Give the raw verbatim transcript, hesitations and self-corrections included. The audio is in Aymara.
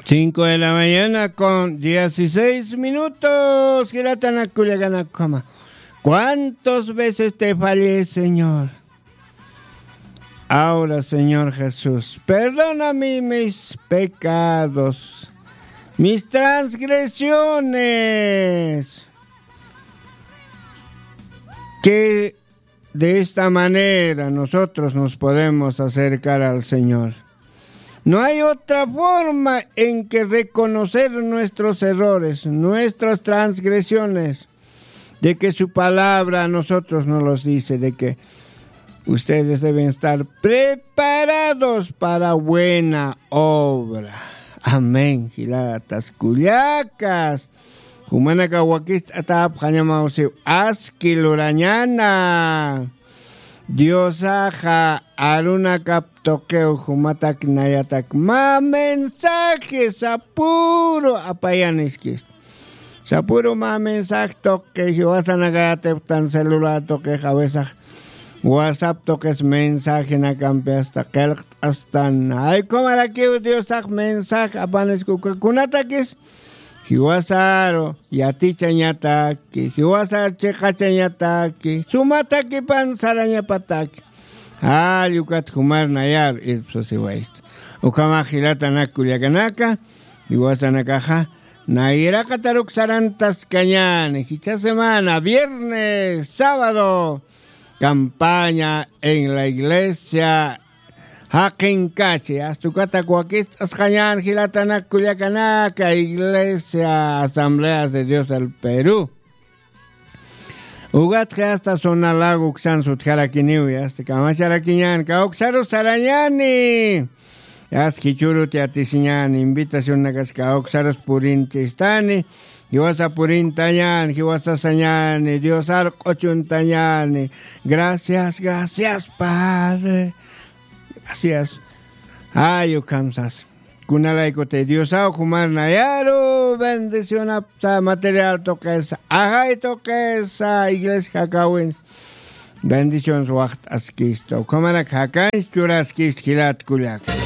Cinco de la mañana con dieciséis minutos. Jilatanak kullakanakama. ¿Cuántas veces te fallé, Señor? Ahora, Señor Jesús, perdóname mis pecados, mis transgresiones. Que de esta manera nosotros nos podemos acercar al Señor. No hay otra forma en que reconocer nuestros errores, nuestras transgresiones, de que su palabra a nosotros nos los dice, de que ustedes deben estar preparados para buena obra. Amén. Jilatas kullakas. Jumanaka wakist'atapxañamawsiw aski lurañana. Diosaxa arunakap tuqiw jumatak nayatak mä mensaje sapüru apayaniskis. Sapüru mä mensaje tuqi jiwasanakayatiptan celular tuqix a veces WhatsApp tuqis mensajenakampi asta qillqt'astan. Ay, ukhamarakiw Diosax mensaje apaniskukakunatakis jiwasaru yatichañataki, jiwasar chiqachañataki, sumatakipan sarañapataki. Jall ukat jumar nayaru irpsasiwaysta. Ukhamax jilatanak kullakanaka, jiwasanakaxa nayraqataruk sarantaskañäni, jichha semana, viernes, sábado, campaña en la iglesia Jaqinkachi, asta ukatak wakist'asqañän jilatanak kullakanaka, Iglesia Asambleas de Dios del Perú. Ukatxa asta zona lago uksan sutjarakiniw, asta kamacharakiñän, kawksaru sarañäni. Asta jichhürut yatisiñäni, invitacionnakas kawksarus purinchistani, jiwasa purintañäni, jiwasa sañäni, Diosar q'uchuntañäni. Gracias, gracias, Padre. Gracias. Ay, ukham sas. Kunalaykutï Diosaw jumar nayaru bendicionapsa material tuqisa, ajay tuqisa, iglesia jakawin bendiciones waxt'askista. Ukhamarak jakanch churaskista jilat kullaka.